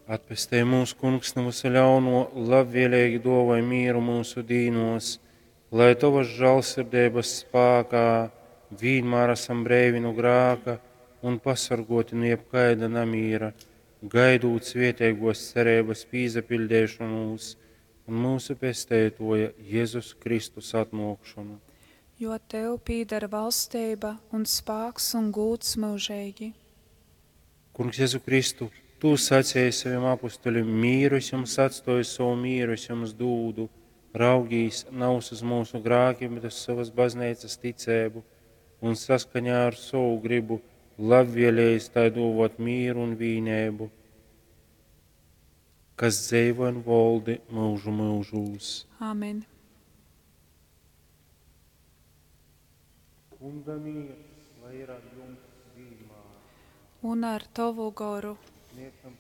Atpestej mūs, Kungs, nu vysa ļauno, labvēlīgi duovoj mīru myusu dīnos, lai Tovas žālsirdeibas spākā vīnmār esam breivi nu grāka un pasorgoti nu jebkaida namīra, gaidūt svētīgos cerības pīsapiļdeišonūs un mūsu Pesteitoja Jezus Kristus atnōkšonu. Jo Tev pīdar valsteiba un spāks un gūds myužeigi. Kungs Jezu Kristu, Tu sacēji saviem apustuļiem, mīru es jums atstoju, savu mīru es jums dūdu. Raugīs navs uz mūsu grākiem, bet uz savas baznīcas ticēbu un saskaņā ar savu gribu labvēlējis tai dūvot mīru un vīnēbu, kas dzeivo un voldi mūžu mūžūs. Āmen. Kunga miers, lai ir ar jums vienmēr. Un ar Tavu goru. Sniegam